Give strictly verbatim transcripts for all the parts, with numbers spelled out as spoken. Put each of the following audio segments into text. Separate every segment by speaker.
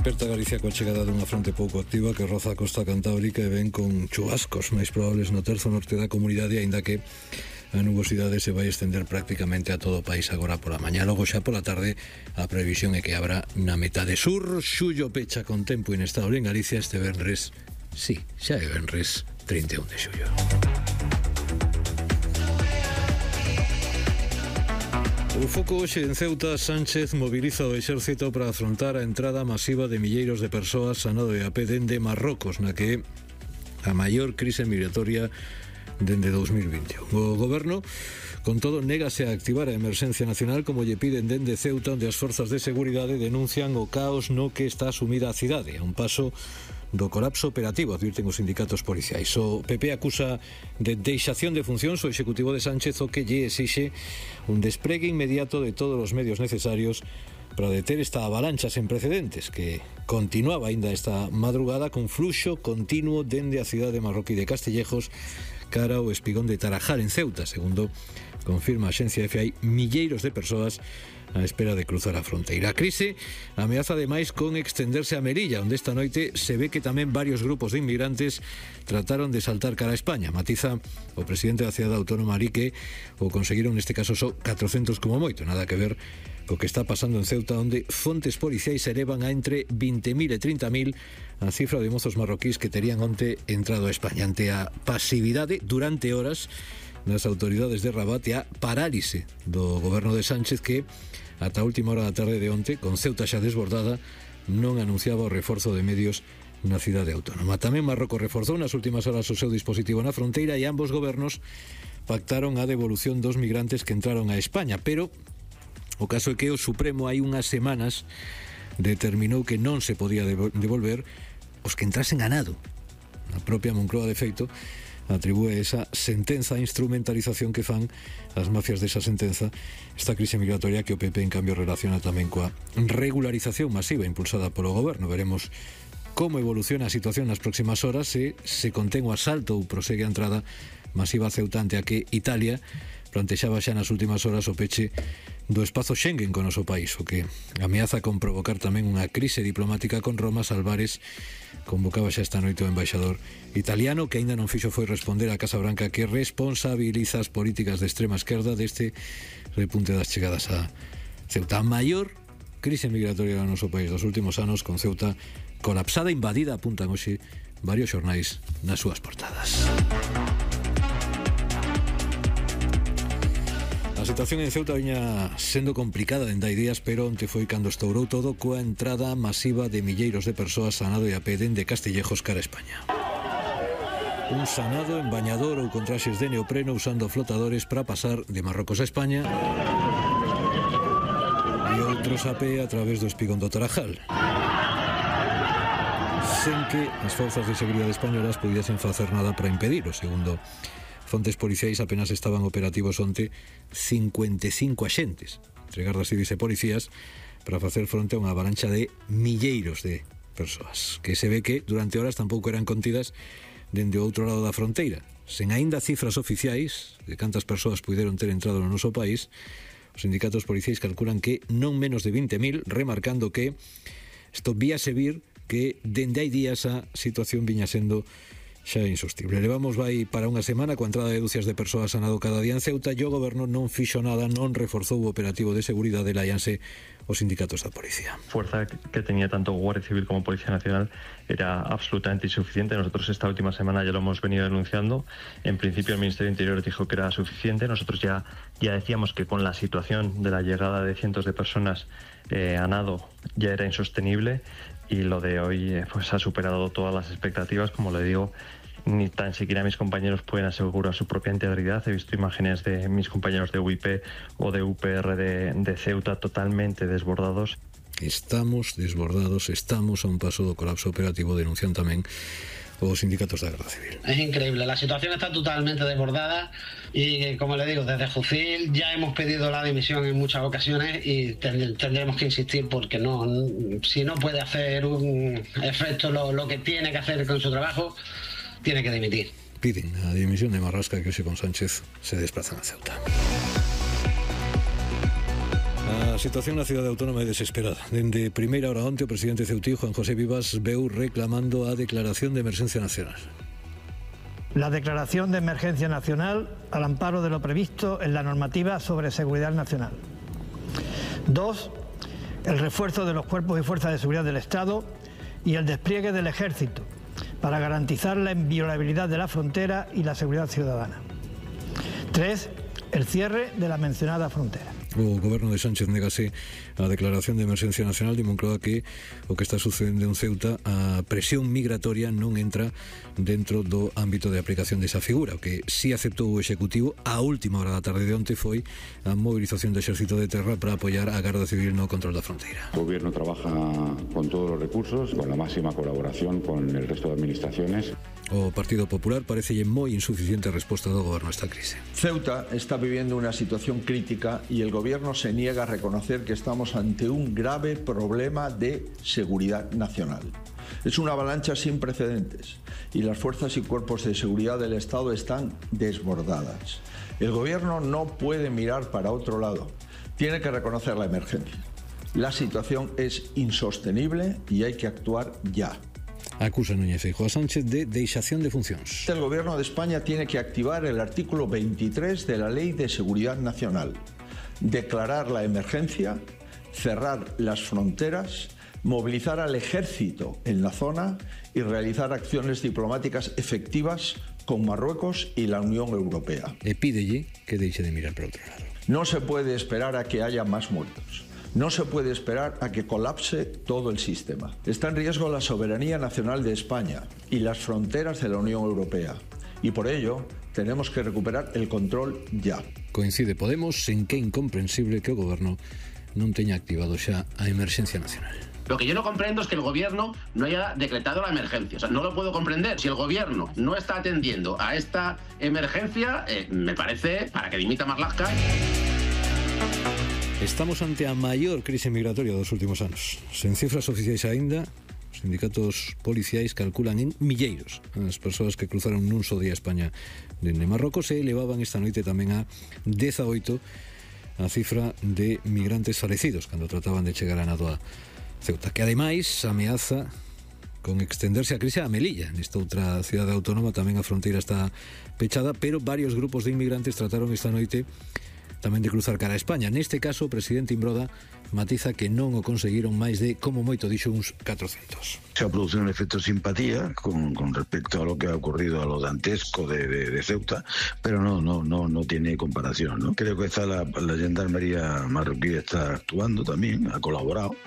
Speaker 1: Desperta Galicia coa chegada dunha fronte pouco activa que roza a costa cantábrica e ven con chubascos máis probables no terzo norte da comunidade, aínda que a nubosidade se vai estender prácticamente a todo o país agora pola mañá. Logo xa pola tarde a previsión é que habrá na metade sur. Xullo pecha con tempo inestable en Galicia este venres. Sí, xa é venres trinta e un de xullo. O foco hoxe en Ceuta. Sánchez moviliza o exército para afrontar a entrada masiva de milleiros de persoas a nado e a pé dende Marrocos, na que a maior crise migratoria dende dos mil vinte e un. O goberno, con todo, négase a activar a emerxencia nacional como lle piden dende Ceuta, onde as forzas de seguridade denuncian o caos no que está sumida a cidade, a un paso do colapso operativo, advirten os sindicatos policiais. O P P acusa de deixación de funcións o executivo de Sánchez, o que lle exixe un despregue inmediato de todos os medios necesarios para deter esta avalancha sen precedentes que continuaba aínda esta madrugada con fluxo continuo dende a cidade de Marroquí de Castillejos cara ao espigón de Tarajal en Ceuta. Segundo confirma a axencia F, hai milleiros de persoas á espera de cruzar a fronteira. A crise ameaza ademais con extenderse a Melilla, onde esta noite se ve que tamén varios grupos de inmigrantes trataron de saltar cara a España. Matiza o presidente da cidade autónoma ali que o conseguiron neste caso só catrocentos como moito, nada que ver co que está pasando en Ceuta, onde fontes policiais elevan a entre vinte mil e trinta mil a cifra de mozos marroquís que terían onte entrado a España. Ante a pasividade durante horas das autoridades de Rabat e a parálise do goberno de Sánchez, que ata a última hora da tarde de onte, con Ceuta xa desbordada, non anunciaba o reforzo de medios na cidade autónoma. Tamén Marrocos reforzou nas últimas horas o seu dispositivo na fronteira e ambos gobernos pactaron a devolución dos migrantes que entraron a España, pero o caso é que o Supremo hai unhas semanas determinou que non se podía devolver os que entrasen a nado. A propia Moncloa, de feito, atribúe esa sentenza a instrumentalización que fan as mafias desa sentenza esta crise migratoria que o P P en cambio relaciona tamén coa regularización masiva impulsada polo goberno. Veremos como evoluciona a situación nas próximas horas, se se contén o asalto ou prosegue a entrada masiva a Ceuta, ante a que Italia plantexaba xa nas últimas horas o peche do espazo Schengen con o noso país, o que ameaza con provocar tamén unha crise diplomática con Roma. Álvarez convocaba xa esta noite o embaixador italiano, que aínda non fixo foi responder á Casa Branca, que responsabiliza as políticas de extrema esquerda deste repunte das chegadas a Ceuta. A maior crise migratoria no noso país dos últimos anos, con Ceuta colapsada, invadida, apuntan hoxe varios xornais nas súas portadas. A situación en Ceuta viña sendo complicada dende hai días, pero onte foi cando estourou todo coa entrada masiva de milleiros de persoas a nado e a pé dende Castillejos cara a España. Un sanado en bañador ou con traxes de neopreno usando flotadores para pasar de Marrocos a España, e outros a pé a través do espigón do Tarajal, sen que as forzas de seguridade españolas pudiesen facer nada para impedilo. Segundo fontes policiais, apenas estaban operativos onte cincuenta e cinco axentes entre gardas civis e policías para facer fronte a unha avalancha de milleiros de persoas, que se ve que durante horas tampouco eran contidas dende o outro lado da fronteira. Sen aínda cifras oficiais de cantas persoas puideron ter entrado no noso país, os sindicatos policiais calculan que non menos de vinte mil, remarcando que isto víase vir que dende hai días a situación viña sendo xa é insostible. Levamos vai para unha semana coa entrada de dúcias de persoas a nado cada día en Ceuta, e o goberno non fixo nada, non reforzou o operativo de seguridade, láianse os sindicatos da policía.
Speaker 2: Fuerza que tenía tanto Guardia Civil como Policía Nacional era absolutamente insuficiente. Nosotros esta última semana ya lo hemos venido denunciando. En principio el Ministerio de Interior dijo que era suficiente. Nosotros ya, ya decíamos que con la situación de la llegada de cientos de personas eh, a nado ya era insostenible, y lo de hoy eh, pues ha superado todas las expectativas. Como le digo, ni tan siquiera mis compañeros pueden asegurar su propia integridad. He visto imágenes de mis compañeros de U I P o de U P R de, de Ceuta totalmente desbordados.
Speaker 1: Estamos desbordados, estamos a un paso do colapso operativo, denuncian tamén os sindicatos da Guardia Civil.
Speaker 3: Es increíble, la situación está totalmente desbordada y, como le digo, desde Jucil ya hemos pedido la dimisión en muchas ocasiones y tendremos que insistir, porque no, si no puede hacer un efecto lo, lo que tiene que hacer con su trabajo, tiene que dimitir.
Speaker 1: Piden a dimisión de Marrasca, que hoxe con Sánchez se desplazan a Ceuta. As situación na cidade autónoma é desesperada. Dende primeira hora onte, o presidente ceutí, Juan José Vivas, veu reclamando a declaración de emergencia nacional.
Speaker 4: La declaración de emergencia nacional al amparo de lo previsto en la normativa sobre seguridad nacional. Dos, el refuerzo de los cuerpos y fuerzas de seguridad del Estado y el despliegue del Ejército para garantizar la inviolabilidad de la frontera y la seguridad ciudadana. Tres, el cierre de la mencionada frontera.
Speaker 1: O goberno de Sánchez negase a declaración de emerxencia nacional de Moncloa que o que está sucedendo en Ceuta, a presión migratoria non entra dentro do ámbito de aplicación desa figura. O que sí aceptou o Executivo a última hora da tarde de onte foi a movilización do Exército de Terra para apoiar a Garda Civil no control da fronteira.
Speaker 5: El gobierno trabaja con todos los recursos, con la máxima colaboración con el resto de administraciones.
Speaker 1: O Partido Popular parecelle moi insuficiente a resposta do goberno a esta crise.
Speaker 6: Ceuta está viviendo una situación crítica y el gobierno se niega a reconocer que estamos ante un grave problema de seguridad nacional. Es una avalancha sin precedentes y las fuerzas y cuerpos de seguridad del Estado están desbordadas. El gobierno no puede mirar para otro lado, tiene que reconocer la emergencia. La situación es insostenible y hay que actuar ya.
Speaker 1: Acusa Núñez Feijóo a Sánchez de deixación de funcións.
Speaker 6: El gobierno de España tiene que activar el artículo veintitrés de la Ley de Seguridad Nacional, declarar la emergencia, cerrar las fronteras, movilizar al ejército en la zona y realizar acciones diplomáticas efectivas con Marruecos y la Unión Europea.
Speaker 1: E pídelle que deixe de mirar para outro lado.
Speaker 6: No se puede esperar a que haya más muertos. No se puede esperar a que colapse todo el sistema. Está en riesgo la soberanía nacional de España y las fronteras de la Unión Europea. Y por ello, tenemos que recuperar el control ya.
Speaker 1: Coincide Podemos en que é incomprensible que o goberno non teña activado xa a emerxencia nacional.
Speaker 7: Lo que yo no comprendo es que el gobierno no haya decretado la emergencia. O sea, no lo puedo comprender. Si el gobierno no está atendiendo a esta emergencia, eh, me parece para que dimita Marlaska.
Speaker 1: Estamos ante a maior crise migratoria dos últimos anos. Sen cifras oficiais aínda, os sindicatos policiais calculan en milleiros as persoas que cruzaron nun só día a España dende Marrocos e elevaban esta noite tamén a dezaoito a cifra de migrantes falecidos cando trataban de chegar a nado a Ceuta, que ademais ameaza con extenderse a crise a Melilla. Nesta outra cidade autónoma tamén a fronteira está pechada, pero varios grupos de inmigrantes trataron esta noite tamén de cruzar cara a España. Neste caso, o presidente Imbroda matiza que non o conseguiron máis de, como moito dixo, uns catrocentos.
Speaker 8: Se ha producido un efecto simpatía con, con respecto a lo que ha ocurrido a lo dantesco de, de, de Ceuta, pero no, no, no, no tiene comparación, ¿no? Creo que está la, la gendarmería marroquí está actuando también, ha colaborado.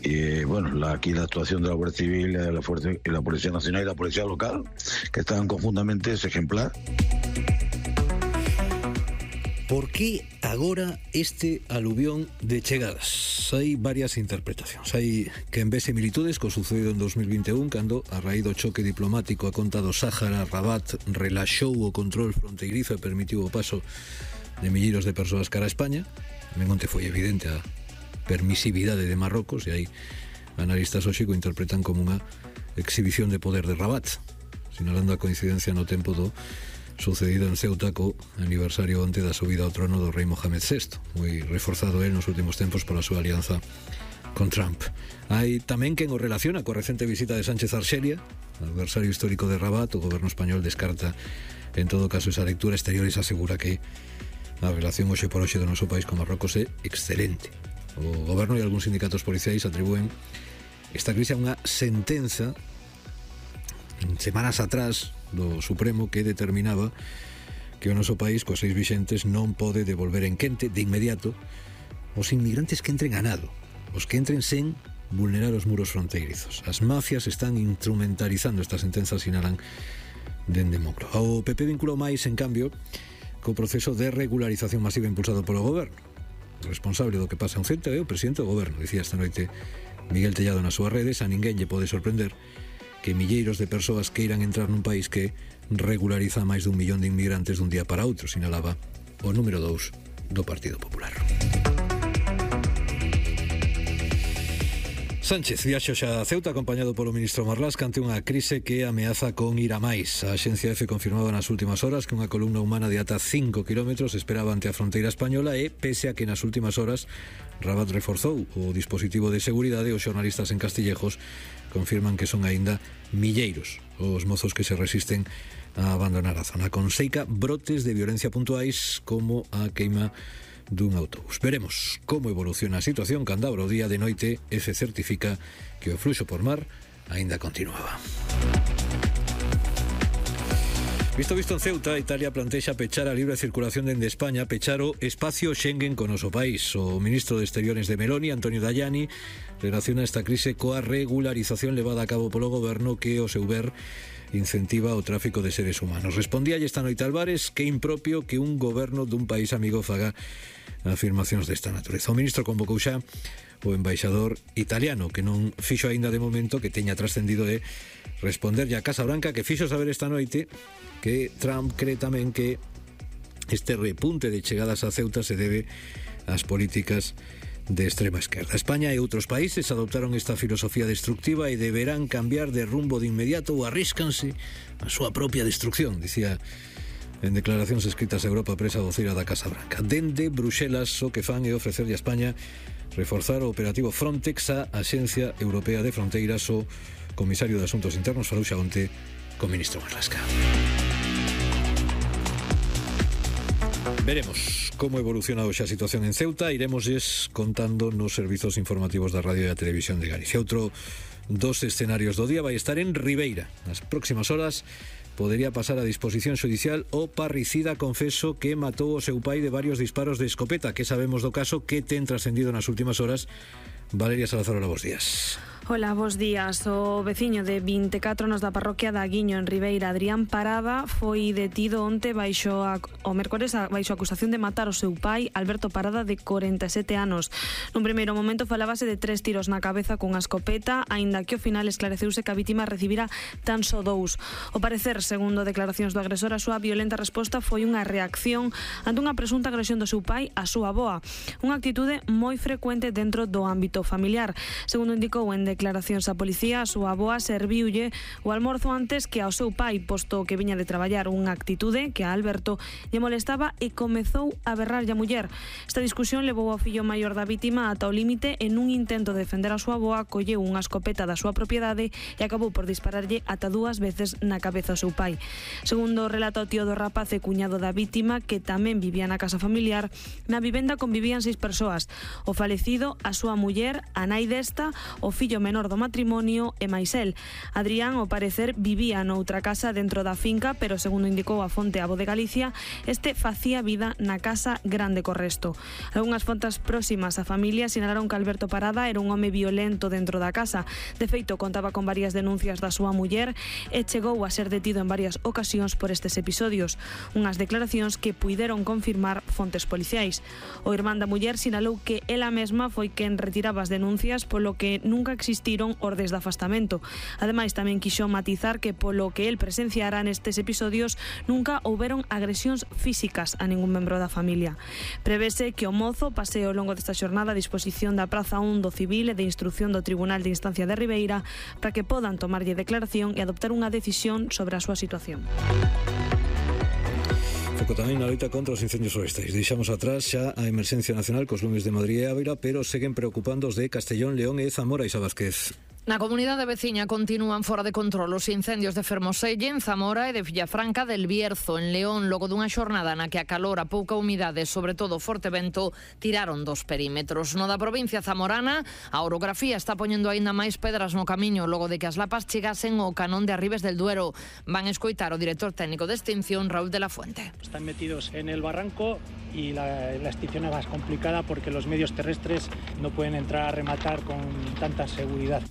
Speaker 8: Y bueno, la, aquí la actuación de la Guardia Civil, la, Fuerza, la Policía Nacional y la Policía Local, que estaban conjuntamente, es ejemplar.
Speaker 1: Por que agora este aluvión de chegadas? Hai varias interpretacións. Hai quen ve similitudes co sucedido en dos mil vinte e un, cando, a raíz do choque diplomático a conta do Sáhara, Rabat relaxou o control fronteirizo e permitiu o paso de milleiros de persoas cara a España. Tamén onte foi evidente a permisividade de Marrocos, e aí analistas hoxe o interpretan como unha exhibición de poder de Rabat, sinalando a coincidencia no tempo do sucedido en Ceuta co aniversario onte da subida ao trono do rei Mohamed sexto, moi reforzado el nos últimos tempos pola súa alianza con Trump. Hai tamén quen o relaciona coa recente visita de Sánchez a Arxelia, adversario histórico de Rabat. O goberno español descarta en todo caso esa lectura exterior e se asegura que a relación hoxe por hoxe do noso país con Marrocos é excelente. O goberno e algúns sindicatos policiais atribúen esta crise a unha sentenza semanas atrás do Supremo que determinaba que o noso país, coas seis vixentes, non pode devolver en quente de inmediato os inmigrantes que entren a nado, os que entren sen vulnerar os muros fronteirizos. As mafias están instrumentalizando esta sentenza, sinalan dende Moncloa. O P P vinculou máis, en cambio, co proceso de regularización masiva impulsado polo goberno. O responsable do que pasa en Ceuta é o presidente do goberno, dicía esta noite Miguel Tellado nas súas redes. A ninguén lle pode sorprender que milleiros de persoas queiran entrar nun país que regulariza máis dun millón de inmigrantes dun día para outro, sinalaba o número dous do Partido Popular. Sánchez viaxo xa a Ceuta acompañado polo ministro Marlaska ante unha crise que ameaza con ir a máis. A Axencia Efe confirmaba nas últimas horas que unha columna humana de ata cinco kilómetros esperaba ante a fronteira española e, pese a que nas últimas horas Rabat reforzou o dispositivo de seguridade, os xornalistas en Castillejos confirman que son aínda milleiros os mozos que se resisten a abandonar a zona, con seica brotes de violencia puntuais como a queima dun autobús. Veremos como evoluciona a situación cando abra o día de noite e se certifica que o fluxo por mar aínda continuaba. Visto visto en Ceuta, Italia plantexa pechar a libre circulación dende España, pechar o espacio Schengen con o noso país. O ministro de Exteriores de Meloni, Antonio Tajani, relaciona esta crise coa regularización levada a cabo polo goberno que, o seu ver, incentiva o tráfico de seres humanos. Respondíalle esta noite Álvarez que é impropio que un goberno dun país amigo faga afirmacións desta natureza. O ministro convocou xa o embaixador italiano, que non fixo aínda de momento que teña trascendido de responderlle a Casa Branca, que fixo saber esta noite que Trump cree tamén que este repunte de chegadas a Ceuta se debe ás políticas de extrema esquerda. España e outros países adoptaron esta filosofía destructiva e deberán cambiar de rumbo de inmediato ou arríscanse a súa propia destrucción, dicía en declaracións escritas a Europa Presa voceira da Casa Branca. Dende Bruxelas o que fan é ofrecerlle a España reforzar o operativo Frontex, a Axencia Europea de Fronteiras. O comisario de Asuntos Internos falou xa onte co ministro Marlaska. Veremos como evoluciona hoxe a situación en Ceuta. Iremosles contando nos servizos informativos da Radio e da Televisión de Galicia. Outro dos escenarios do día vai estar en Ribeira. Nas próximas horas podería pasar a disposición xudicial o parricida confeso que matou o seu pai de varios disparos de escopeta. Que sabemos do caso? Que ten trascendido nas últimas horas? Valeria Salazar, hola, bos días.
Speaker 9: Hola, bos días. O veciño de vinte e catro anos da parroquia da Aguiño en Ribeira, Adrián Parada, foi detido onte baixo a, o mércores a, baixo a acusación de matar o seu pai, Alberto Parada, de corenta e sete anos. Nun primeiro momento falábase de tres tiros na cabeza cunha escopeta, aínda que ao final esclareceuse que a vítima recibira tan só dous. O parecer, segundo declaracións do agresor, a súa violenta resposta foi unha reacción ante unha presunta agresión do seu pai á súa avoa, unha actitude moi frecuente dentro do ámbito familiar. Segundo indicou en declaracións a policía, a súa avoa serviulle o almorzo antes que ao seu pai, posto que viña de traballar, unha actitude que a Alberto lle molestaba e comezou a berrarlle a muller. Esta discusión levou ao fillo maior da vítima ata o límite e nun intento de defender a súa avoa colleu unha escopeta da súa propiedade e acabou por dispararlle ata dúas veces na cabeza ao seu pai. Segundo relata o tío do rapaz e cuñado da vítima, que tamén vivía na casa familiar, na vivenda convivían seis persoas: o falecido, a súa muller, a nai desta, o fillo menor do matrimonio e máis el. Adrián, ao parecer, vivía noutra casa dentro da finca, pero segundo indicou a fonte A Voz de Galicia, este facía vida na casa grande co resto. Algunhas fontes próximas á familia sinalaron que Alberto Parada era un home violento dentro da casa. De feito, contaba con varias denuncias da súa muller e chegou a ser detido en varias ocasións por estes episodios, unhas declaracións que puideron confirmar fontes policiais. O irmán da muller sinalou que ela mesma foi quen retiraba as denuncias, polo que nunca existiron ordes de afastamento. Ademais, tamén quixo matizar que polo que el presenciara nestes episodios nunca houberon agresións físicas a ningún membro da familia. Prevese que o mozo pase ao longo desta xornada a disposición da Praza un do Civil e de Instrucción do Tribunal de Instancia de Ribeira para que podan tomarlle declaración e adoptar unha decisión sobre a súa situación.
Speaker 1: Foco tamén na loita contra os incendios forestais. Deixamos atrás xa a emerxencia nacional cos lumes de Madrid e Ávila, pero seguen preocupando os de Castellón, León e Zamora. Isa Vázquez.
Speaker 10: Na comunidade veciña continúan fora de control os incendios de Fermoselle, en Zamora e de Villafranca del Bierzo, en León, logo dunha xornada na que a calor, a pouca humidade e, sobre todo, forte vento, tiraron dos perímetros. No da provincia zamorana, a orografía está poñendo aínda máis pedras no camiño, logo de que as lapas chegasen ao canón de Arribes del Duero. Van escoitar o director técnico de extinción, Raúl de la Fuente.
Speaker 11: Están metidos en el barranco y la, la extinción es más complicada porque los medios terrestres no pueden entrar a rematar con tanta seguridad.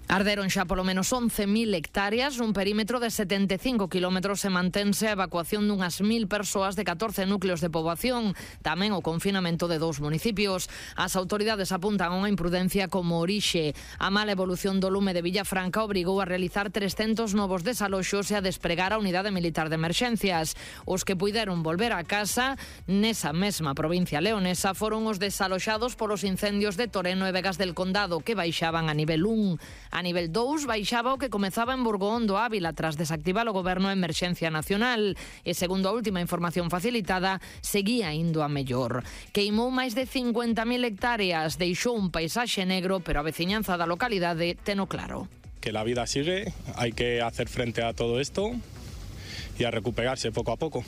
Speaker 10: Arderon xa polo menos once mil hectáreas nun perímetro de setenta e cinco kilómetros e mantense a evacuación dunhas mil persoas de catorce núcleos de poboación, tamén o confinamento de dous municipios. As autoridades apuntan a unha imprudencia como orixe. A mala evolución do lume de Villafranca obrigou a realizar trescentos novos desaloxos e a despregar a unidade militar de emerxencias. Os que puideron volver a casa nesa mesma provincia leonesa foron os desaloxados polos incendios de Toreno e Vegas del Condado, que baixaban a nivel un. A nivel dous baixaba o que comezaba en Burgoón do Ávila tras desactivar o goberno a emerxencia nacional e, segundo a última información facilitada, seguía indo a mellor. Queimou máis de cincuenta mil hectáreas, deixou un paisaxe negro, pero a veciñanza da localidade teno claro.
Speaker 12: Que la vida sigue, hai que hacer frente a todo esto e a recuperarse pouco a pouco.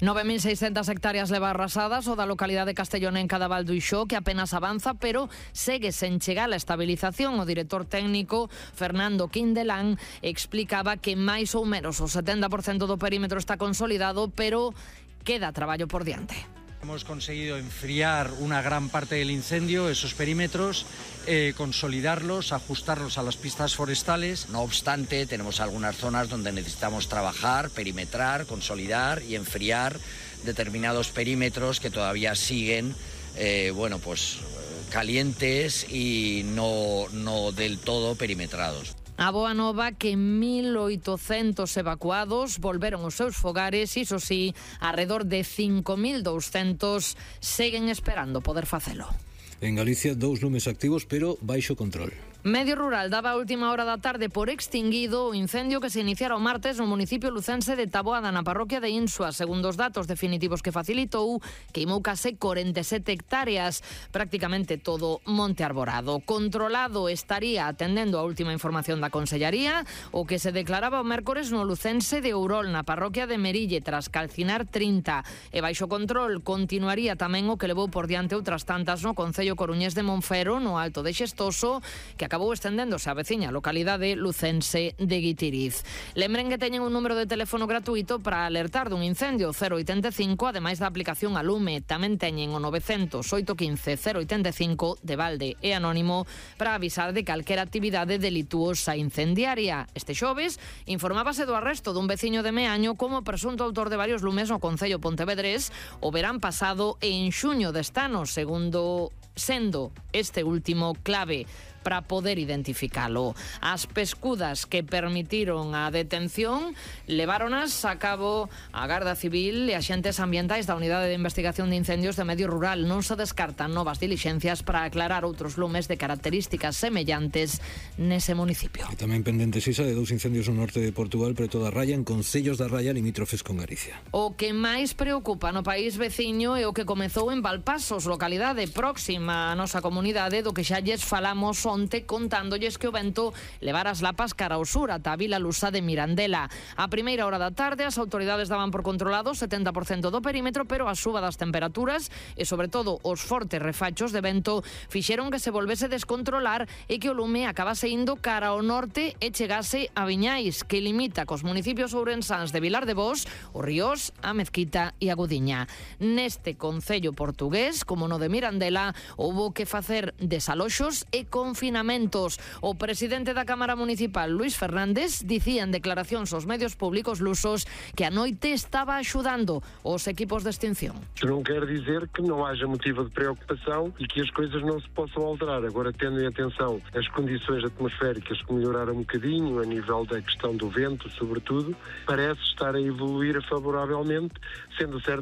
Speaker 10: nove mil seiscentas hectáreas leva arrasadas o da localidade castellonenca da Val do Ixó, que apenas avanza, pero segue sen chegar a estabilización. O director técnico, Fernando Quindelán, explicaba que máis ou menos o setenta por cento do perímetro está consolidado, pero queda traballo por diante.
Speaker 13: Hemos conseguido enfriar una gran parte del incendio, esos perímetros, eh, consolidarlos, ajustarlos a las pistas forestales.
Speaker 14: No obstante, tenemos algunas zonas donde necesitamos trabajar, perimetrar, consolidar y enfriar determinados perímetros que todavía siguen, eh, bueno, pues calientes y no, no del todo perimetrados.
Speaker 10: A boa nova que mil oitocentos evacuados volveron aos seus fogares, iso sí, alrededor de cinco mil douscentos seguen esperando poder facelo.
Speaker 1: En Galicia, dous lumes activos, pero baixo control.
Speaker 10: Medio Rural daba a última hora da tarde por extinguido o incendio que se iniciara o martes no municipio lucense de Taboada, na parroquia de Insua. Segundo os datos definitivos que facilitou, queimou case corenta e sete hectáreas, prácticamente todo monte arborado. Controlado estaría, atendendo a última información da Consellaría, o que se declaraba o mércores no lucense de Ourol, na parroquia de Merille, tras calcinar trinta. E baixo control continuaría tamén o que levou por diante outras tantas no concello coruñés de Monfero, no Alto de Xestoso, que acabou estendéndose a veciña localidade lucense de Guitiriz. Lembren que teñen un número de teléfono gratuito para alertar dun incendio, cero oitenta e cinco, ademais da aplicación a lume. Tamén teñen o novecentos oito quince cero oitenta e cinco de balde e anónimo para avisar de calquera actividade delituosa incendiaria. Este xoves informábase do arresto dun veciño de Meaño como presunto autor de varios lumes no concello pontevedrés o verán pasado en xuño deste ano, segundo sendo este último clave para poder identificalo. As pescudas que permitiron a detención leváronas a cabo a Garda Civil e axentes ambientais da Unidade de Investigación de Incendios de Medio Rural. Non se descartan novas dilixencias para aclarar outros lumes de características semellantes nese municipio.
Speaker 1: E tamén pendentes, Isa, de dous incendios no norte de Portugal, preto da Raya, en concellos da Raya limítrofes con Galicia.
Speaker 10: O que máis preocupa no país veciño é o que comezou en Valpasos, localidade próxima á nosa comunidade, do que xa lles falamos onte contándolles que o vento levara as lapas cara ao sur ata a Vila Lusa de Mirandela. A primeira hora da tarde as autoridades daban por controlado o setenta por cento do perímetro, pero a suba das temperaturas e sobre todo os fortes refachos de vento fixeron que se volvese descontrolar e que o lume acabase indo cara ao norte e chegase a Viñais, que limita cos municipios ourensáns de Vilar de Bos, o Ríos, a Mezquita e a Gudiña. Neste concello portugués, como no de Mirandela, houbo que facer desaloxos e confinamentos. O presidente da Cámara Municipal, Luís Fernández, dicía en declaracións aos medios públicos lusos que a noite estaba axudando os equipos de extinción.
Speaker 15: Non quer dizer que non haja motivo de preocupação e que as coisas não se possam alterar. Agora, tendo em atenção as condições atmosféricas que melhoraram um bocadinho, a nível da questão do vento, sobretudo, parece estar a evoluir favoravelmente, sendo certo